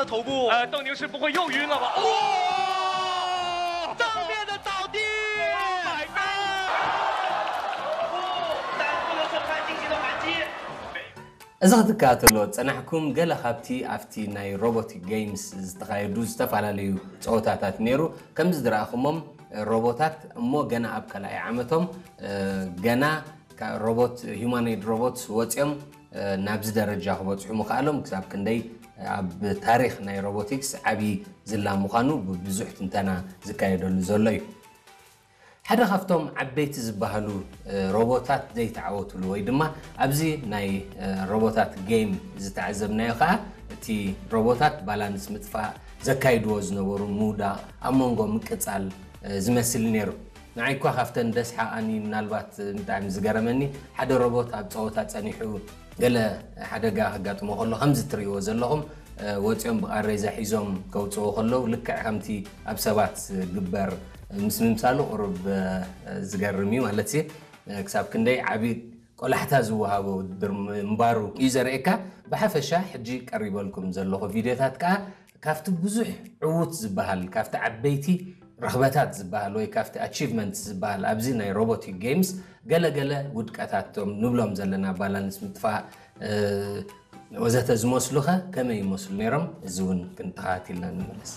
头部。呃，斗牛士不会又晕了吧？哇！正面的倒地。Oh my god！哦，但不能说他进行了反击。 እዚ ክትከታተልዎ ዝጸናሕኩም ገለ ካብቲ ኣብቲ ናይ ሮቦቲክ ጌምስ ዝተኻየዱ ዝተፈላለዩ ጸወታታት ነይሩ። ከምዚ ዝረኣኹሞም ሮቦታት እሞ ገና ኣብ ካልኣይ ዓመቶም ገና ሮቦት humanoid robots ወጺኦም ናብዚ ደረጃ ክበጽሑ ምኽኣሎም ክሳብ ክንደይ ኣብ ታሪኽ ናይ ሮቦቲክስ ዓቢ ዝላ ምዃኑ ብብዙሕ ትንተና ዝካየደሉ ዘሎ እዩ። ሓደ ካብቶም ዓበይቲ ዝበሃሉ ሮቦታት ዘይተዓወትሉ ወይ ድማ ኣብዚ ናይ ሮቦታት ጌም ዝተዓዘብናዮ ከዓ እቲ ሮቦታት ባላንስ ምጥፋእ ዘካይድዎ ዝነበሩ ምውዳቕ ኣብ መንጎ ምቅፃል ዝመስል ነይሩ። ንዓይ እኳ ካብተን ደስሓቓኒ ምናልባት ብጣዕሚ ዝገረመኒ ሓደ ሮቦት ኣብ ፀወታ ፀኒሑ ገለ ሓደጋ ከጋጥሞ ከሎ ከምዚ ትርእይዎ ዘለኹም ወፂኦም ብቃሬዛ ሒዞም ከውፅዎ ከለዉ ልክዕ ከምቲ ኣብ ሰባት ዝግበር ምስ ምምሳሉ ቁሩብ ዝገርም እዩ ማለት እዩ። ክሳብ ክንደይ ዓብዪ ቆላሕታ ዝወሃቦ ውድድር ምንባሩ እዩ ዘርእየካ። ብሓፈሻ ሕጂ ቀሪበልኩም ዘለኹ ቪድዮታት ከዓ ካብቲ ብዙሕ ዕዉት ዝበሃል ካብቲ ዓበይቲ ረኽበታት ዝበሃል ወይ ካብቲ ኣቺቭመንት ዝበሃል ኣብዚ ናይ ሮቦቲክ ጌምስ ገለገለ ውድቀታቶም ንብሎም ዘለና ባላንስ ምጥፋእ ወዘተ ዝመስሉኸ ከመይ ይመስሉ ነይሮም? እዚ እውን ክንተኻቲልና ንምለስ።